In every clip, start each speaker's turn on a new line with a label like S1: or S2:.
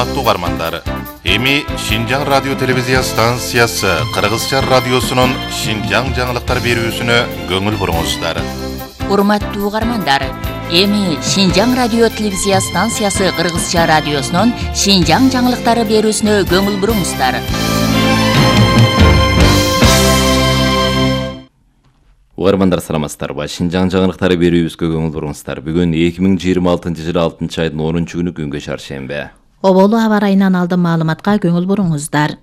S1: Урматтуу угармандар, эми Шинжаң радио телевизия станциясы Кыргызча радиосунун Шинжаң жаңылыктар берүүсүнө көңүл буруңуздар.
S2: Урматтуу угармандар, эми Шинжаң радио телевизия станциясы Кыргызча радиосунун Шинжаң жаңылыктары берүүсүнө көңүл буруңуздар.
S3: Угармандар саламатсыздарбы? Шинжаң жаңылыктары берүүбүзгө көңүл буруңуздар. Бүгүн 2026-жылы 6-айдын 10-күнү күнгө чаршембе.
S4: Оболу аба ырайынан алдын маалыматка көңүл буруңуздар.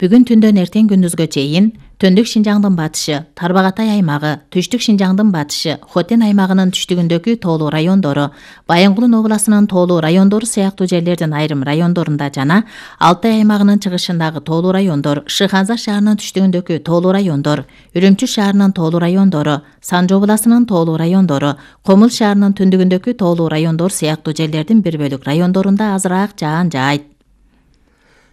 S4: Бүгүн түндөн эртең күндүзгө чейин Төндүк Шинжаңдын батышы, Тарбагатай аймагы, Түштүк Шинжаңдын батышы, Хотен аймагынын түштүгүндөгү тоолуу райондору, Баянгулун областынын тоолуу райондору сыяктуу жерлердин айрым райондорунда жана Алтай аймагынын чыгышындагы тоолуу райондор, Шыханза шаарынын түштүгүндөгү тоолуу райондор, Үрүмчү шаарынын тоолуу райондору, Санжы областынын тоолуу райондору, Комул шаарынын түндүгүндөгү тоолуу райондор сыяктуу жерлердин бир бөлүк райондорунда азыраак жаан жаайт.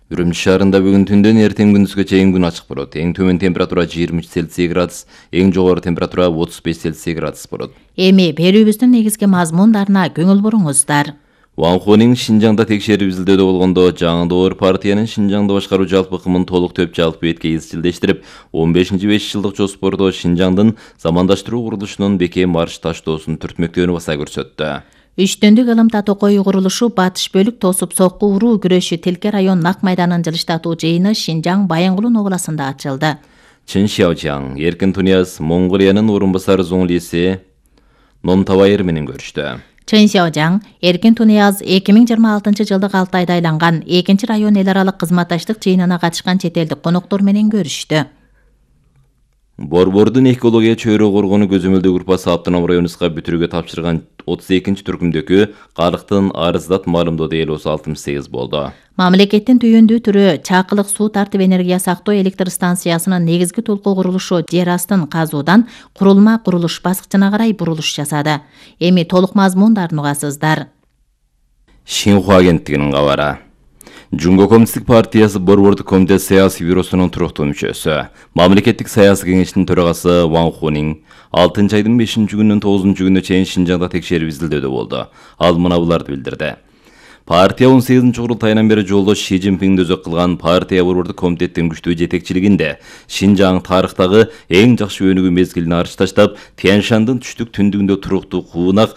S3: Үрүмчү шаарында бүгүн түндөн эртең күндүзгө чейин күн ачык болот. Эң төмөн температура 23 Цельсий градус, эң жогору температура 35 Цельсий градус болот.
S4: Эми берүүбүздүн негизги мазмундарына көңүл буруңуздар.
S3: Ван Хунин Шинжаңда текшерип изилдөөдө болгондо жаңы партиянын Шинжаңды башкаруу жалпы ыкымын толук төп жалпы бетке изчилдештирип, 15-5 жылдык жоспордо Шинжаңдын замандаштыруу курулушунун бекем марш таштоосун түртмөктөөнү баса көрсөттү.
S4: Үчтөндүк ылым татокой курулушу батыш бөлүк тосуп сокку уруу күрөшү Тилке район Нак майданын жылыштатуу жыйыны Шинжаң Баянгулун областында ачылды.
S3: Чын Шяожаң, Эркин Тунияз Монголиянын орун басары Зоңлиси Номтабайыр менен көрүштү.
S4: Чын Шяожаң, Эркин Тунияз 2026-жылдык 6 айда айланган 2 район эл аралык кызматташтык жыйынына катышкан чет элдик коноктор менен көрүштү.
S3: Борбордун экология чөйрө коргону көзөмөлдөө группасы Автоном районубузга бүтүрүүгө тапшырган 32-түркүмдөгү карыктын арыздат маалымдоодо эл осу 68 болду.
S4: Мамлекеттин түйүндүү түрү Чакылык суу тартып энергия сактоо электр станциясынын негизги толкоо курулушу жер астын казуудан курулма курулуш баскычына карай бурулуш жасады. Эми толук мазмундарын угасыздар.
S3: Шинхуа агенттигинин кабары. Жумго коммунисттик партиясы Борбордук комитет саясий бюросунун туруктуу мүчөсү, мамлекеттик саясий кеңештин төрагасы Ван Хунин 6-айдын 5-күнүнөн 9-күнүнө чейин Шинжаңда текшерип изилдөөдө болду. Ал мына буларды билдирди. Партия 18-курултайынан бери жолдош Ши Цзиньпиңди өзөк кылган партия Борбордук комитеттин күчтүү жетекчилигинде Шинжаң тарыхтагы эң жакшы өнүгүү мезгилин арчы таштап, Тянь Шаньдын түштүк түндүгүндө туруктуу куунак